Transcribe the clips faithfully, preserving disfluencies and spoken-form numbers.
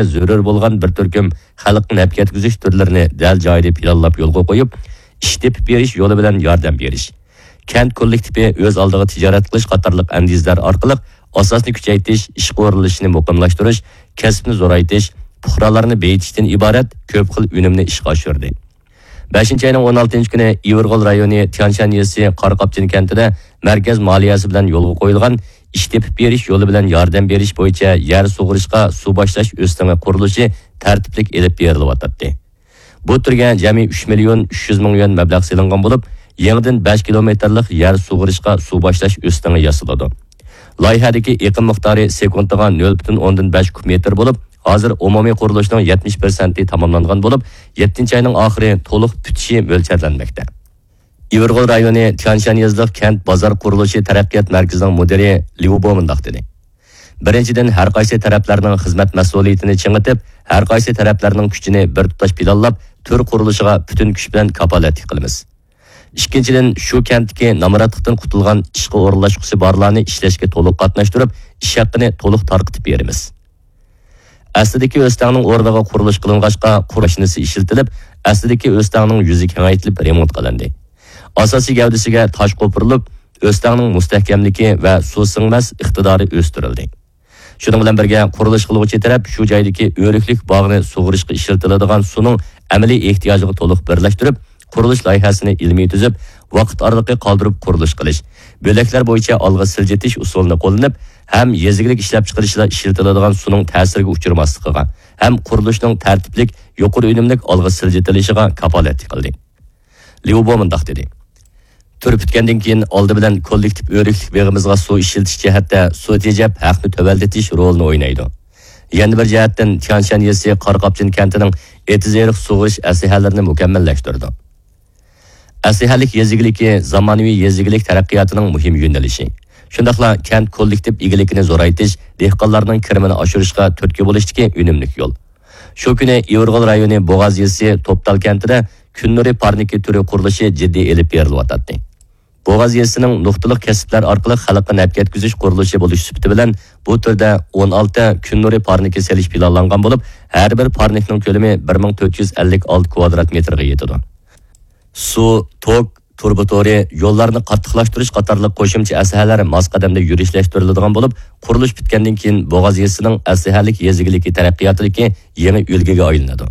زۆرۈر بولغان بىر تۈركۈم خەلققە نەپ يەتكۈزۈش تۈرلىرىنى دەل جايىدا پىلانلاپ يولغا قويۇپ، ئىش تېپىپ بېرىش يولى بىلەن ياردەم بېرىش. كەنت كوللېكتىپى ئۆز ئالدىغا تىجارەت قىلىش قاتارلىق ئەندىزىلەر ئارقىلىق ئاساسنى كۈچەيتىش، ئىشقا ئورۇنلىشىشنى مۇقىملاشتۇرۇش، كەسىپنى زورايتىش، پۇقرالارنى بېيىتىشتىن ئىبارەت كۆپ خىل ئۈنۈمنى ئىشقا ئاشۇردى. بەشىنچى ئاينىڭ ئون ئالتىنچى كۈنى ئىۋىرغول رايونى تيانشان يېزىسى قاراقاپچىن كەنتىدە مەركەز مالىيەسى بىلەن يولغا قويۇلغان ئىش تېپىپ بېرىش يولى بىلەن ياردەم بېرىش بويىچە يەر سۇغىرىشقا سۇ باشلاش ئۆستىڭى قۇرۇلۇشى تەرتىپلىك ئېلىپ بېرىلىۋاتاتتى. بۇ تۈرگە جەمئىي ئۈچ مىليون ئۈچ يۈز مىڭ يۈەن مەبلەغ سېلىنغان بولۇپ، يېڭىدىن بەش كىلومېتىرلىق يەر سۇغىرىشقا سۇ باشلاش ئۆستىڭى ياسىلىدۇ. لايىھەدىكى ئېقىم مىقدارى سېكۇنتىغا نۆل پۈتۈن ئوندىن بەش كۇب مېتىر بولۇپ، ھازىر ئومۇمىي قۇرۇلۇشنىڭ يەتمىش پىرسەنتى تاماملانغان بولۇپ، يەتتىنچى ئاينىڭ ئاخىرى تولۇق پۈتۈشى مۆلچەرلەنمەكتە. ئىۋىرغول رايونى تيانشان يېزىلىق كەنت بازار قۇرۇلۇشى تەرەققىيات مەركىزىنىڭ مۇدىرى ليۇ بو مۇنداق دېدى: بىرىنچىدىن، ھەر قايسى تەرەپلەرنىڭ خىزمەت مەسئۇلىيىتىنى چىڭىتىپ، ھەر قايسى تەرەپلەرنىڭ كۈچىنى بىر تۇتاش پىلانلاپ، تۈر قۇرۇلۇشىغا پۈتۈن كۈچ بىلەن كاپالەتلىك قىلىمىز. ئىككىنچىدىن، شۇ كەنتتىكى نامراتلىقتىن قۇتۇلغان ئىشقا ئورۇنلاشقۇسى بارلارنى ئىشلەشكە تولۇق قاتناشتۇرۇپ، ئىش ھەققىنى تولۇق تارقىتىپ بېرىمىز. ئەسلىدىكى ئۆستەڭنىڭ ئورنىغا قۇرۇلۇش قىلىنغاچقا، قۇرۇش ماشىنىسى ئىشلىتىلىپ، ئەسلىدىكى ئۆستەڭنىڭ يۈزى كېڭەيتىلىپ رېمونت قىلىندى. ئاساسىي گەۋدىسىگە تاش قوپۇرۇلۇپ، ئۆستەڭنىڭ مۇستەھكەملىكى ۋە سۇ سىڭمەس ئىقتىدارى ئۆستۈرۈلدى. شۇنىڭ بىلەن بىرگە، قۇرۇلۇش قىلغۇچى تەرەپ شۇ جايدىكى ئۆرۈكلۈك باغنى سۇغىرىشقا ئىشلىتىلىدىغان سۇنىڭ ئەمەلىي ئېھتىياجىغا تولۇق بىرلەشتۈرۈپ، قۇرۇلۇش لايىھەسىنى ئىلمىي تۈزۈپ، ۋاقىت ئارىلىقى قالدۇرۇپ قۇرۇلۇش قىلىش، بۆلەكلەر بويىچە ئالغا سىلجىتىش ئۇسۇلىنى قوللىنىپ، ھەم يېزا ئىگىلىك ئىشلەپچىقىرىشىدا ئىشلىتىلىدىغان سۇنىڭ تەسىرگە ئۇچرىماسلىقىغا، ھەم قۇرۇلۇشنىڭ تەرتىپلىك، يۇقىرى ئۈنۈملۈك ئالغا سىلجىتىلىشىغا كاپالەتلىك قىلدى. ليۇ بو مۇنداق دېدى: تۈر پۈتكەندىن كېيىن، ئالدى بىلەن كوللېكتىپ ئۆرۈكلۈك بېغىمىزغا سۇ ئىشلىتىش جەھەتتە سۇ تېجەپ، ھەقنى تۆۋەنلىتىش رولىنى ئوينايدۇ. يەنە بىر جەھەتتىن، تيانشان يېزىسى قاراقاپچىن كەنتىنىڭ ئېتىز-ئېرىق سۇغىرىش ئەسلىھەلىرىنى مۇكەممەللەشتۈردى. ئەسلىھەلىك يېزا ئىگىلىكى زامانىۋى يېزا ئىگىلىك تەرەققىياتىنىڭ مۇھىم يۆنىلىشى. شۇنداقلا كەنت كوللېكتىپ ئىگىلىكىنى زورايتىش، دېھقانلارنىڭ كىرىمىنى ئاشۇرۇشقا تۈرتكە بولۇشتىكى ئۈنۈملۈك يول. شۇ كۈنى ئىۋىرغول رايونى بوغاز يېزىسى توپتال كەنتىدە كۈن نۇرى پارنىكى تۈرى قۇرۇلۇشى جىددىي ئېلىپ بېرىلىۋاتاتتى. بوغاز يېزىسىنىڭ نۇقتىلىق كەسىپلەر ئارقىلىق خەلققە نەپ يەتكۈزۈش قۇرۇلۇشى بولۇش سۈپىتى بىلەن، بۇ تۈردە ئون ئالتە كۈن نۇرى پارنىكى سېلىش پىلانلانغان بولۇپ، ھەر بىر پارنىكنىڭ كۆلىمى بىر مىڭ تۆت يۈز ئەللىك ئالتە كۋادرات مېتىرغا يېتىدۇ. سۇ، توك، تۇرۇبا تورى، يوللارنى قاتتىقلاشتۇرۇش قاتارلىق قوشۇمچە ئەسلىھەلەر ماس قەدەمدە يۈرۈشلەشتۈرۈلىدىغان بولۇپ، قۇرۇلۇش پۈتكەندىن كېيىن، بوغاز يېزىسىنىڭ ئەسلىھەلىك يېزا ئىگىلىكى تەرەققىياتىدىكى يېڭى ئۈلگىگە ئايلىنىدۇ.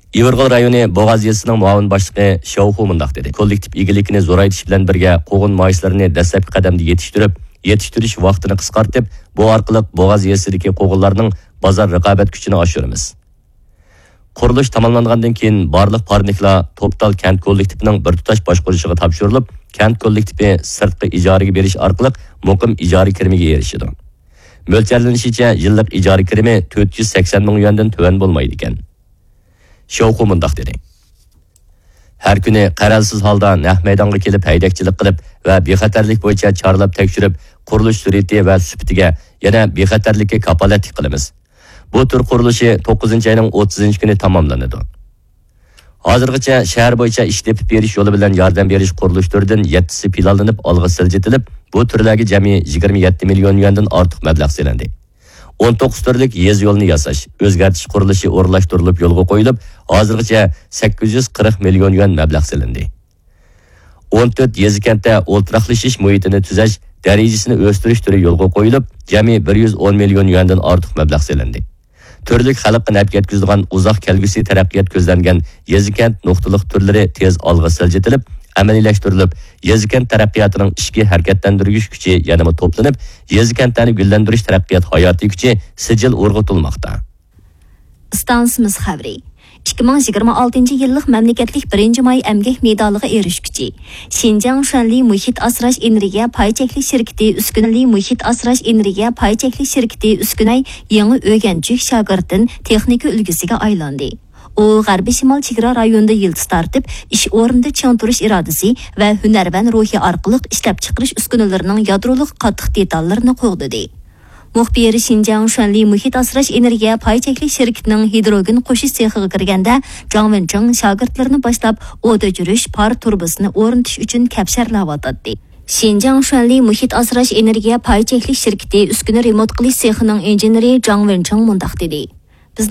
ئىۋىرغول رايونى بوغاز يېزىسىنىڭ مۇئاۋىن باشلىقى شياۋخۇ مۇنداق دېدى: كوللېكتىپ ئىگىلىكىنى زورايتىش بىلەن بىرگە، قوغۇن مايسىلىرىنى دەسلەپكى قەدەمدە يېتىشتۈرۈپ، يېتىشتۈرۈش ۋاقتىنى قىسقارتىپ، بۇ ئارقىلىق بوغاز يېزىسىدىكى قوغۇنلارنىڭ بازار رىقابەت كۈچىنى ئاشۇرىمىز. قۇرۇلۇش تاماملانغاندىن كېيىن، بارلىق پارنىكلار توپتال كەنت كوللېكتىپىنىڭ بىر تۇتاش باشقۇرۇشىغا تاپشۇرۇلۇپ، كەنت كوللېكتىپى سىرتقا ئىجارىگە بېرىش ئارقىلىق مۇقىم ئىجارە كىرىمىگە ئېرىشىدۇ. مۆلچەرلىنىشىچە، يىللىق ئىجارە كىرىمى تۆت يۈز سەكسەن مىڭ يۈەندىن تۆۋەن بولمايدىكەن. شياۋخۇ مۇنداق دېدى: ھەر كۈنى قەرەلسىز ھالدا نەق مەيدانغا كېلىپ ھەيدەكچىلىك قىلىپ ۋە بىخەتەرلىك بويىچە چارلاپ تەكشۈرۈپ، قۇرۇلۇش سۈرئىتى ۋە سۈپىتىگە، يەنە بىخەتەرلىككە كاپالەتلىك قىلىمىز. بۇ تۈر قۇرۇلۇشى توققۇزىنچى ئاينىڭ ئوتتۇزىنچى كۈنى تاماملىنىدۇ. ھازىرغىچە شەھەر بويىچە ئىش تېپىپ بېرىش يولى بىلەن ياردەم بېرىش قۇرۇلۇش تۈرىدىن يەتتىسى پىلانلىنىپ ئالغا سىلجىتىلىپ، بۇ تۈرلەرگە جەمئىي يىگىرمە يەتتە مىليون يۈەندىن ئارتۇق مەبلەغ سېلىندى. ئون توققۇز تۈرلۈك يېزا يولىنى ياساش، ئۆزگەرتىش قۇرۇلۇشى ئورۇنلاشتۇرۇلۇپ يولغا قويۇلۇپ، ھازىرغىچە سەككىز يۈز قىرىق مىليون يۈەن مەبلەغ سېلىندى. ئون تۆت يېزا كەنتتە ئولتۇراقلىشىش مۇھىتىنى تۈزەش، دەرىجىسىنى ئۆستۈرۈش تۈرى يولغا قويۇلۇپ، جەمئىي بىر يۈز ئون مىليون يۈەندىن ئارتۇق مەبلەغ سېلىندى. تۈرلۈك خەلققە نەپ يەتكۈزىدىغان ئۇزاق كەلگۈسى تەرەققىيات كۆزلەنگەن يېزا كەنت نۇقتىلىق تۈرلىرى تېز ئالغا سىلجىتىلىپ، ئەمەلىيلەشتۈرۈلۈپ، يېزا كەنت تەرەققىياتىنىڭ ئىچكى ھەرىكەتلەندۈرگۈچ كۈچى يەنىمۇ توپلىنىپ، يېزا كەنتلەرنى گۈللەندۈرۈش تەرەققىيات ھاياتىي كۈچى سىجىل ئۇرغۇتۇلماقتا. ئىستانسىمىز خەۋىرى. ئىككى مىڭ يىگىرمە ئالتىنچى يىللىق مەملىكەتلىك بىرىنچى ماي ئەمگەك مېدالىغا ئېرىشكۈچى، شىنجاڭ شۈەنلى مۇھىت ئاسراش ئېنېرگىيە پاي چەكلىك شىركىتى ئۈسكۈنە، شۈەنلى مۇھىت ئاسراش ئېنېرگىيە پاي چەكلىك شىركىتى ئۈسكۈنە يېڭى ئۆگەنچۈك شاگىرتتىن تېخنىكا ئۈلگىسىگە ئايلاندى. ئۇ غەربىي شىمال چېگرا رايونىدا يىلتىز تارتىپ، ئىش ئورنىدا چىڭ تۇرۇش ئىرادىسى ۋە ھۈنەرۋەن روھى ئارقىلىق ئىشلەپچىقىرىش ئۈسكۈنىلىرىنىڭ يادرولۇق قاتتىق دېتاللىرىنى قوغدىدى. مۇخبىر شىنجاڭ شۈەنلى مۇھىت ئاسراش ئېنېرگىيە پاي چەكلىك شىركىتىنىڭ ھىدروگېن قوشۇش سېخىغا كىرگەندە، جاڭ ۋېنچىڭ شاگىرتلىرىنى باشلاپ ئوت ئۆچۈرۈش پار تۇرۇبىسىنى ئورنىتىش ئۈچۈن كەپشەرلەۋاتاتتى. شىنجاڭ شۈەنلى مۇھىت ئاسراش ئېنېرگىيە پاي چەكلىك شىركىتى ئۈسكۈنە رېمونت قىلىش سېخىنىڭ ئىنژېنېرى جاڭ ۋېنچىڭ مۇنداق دېدى: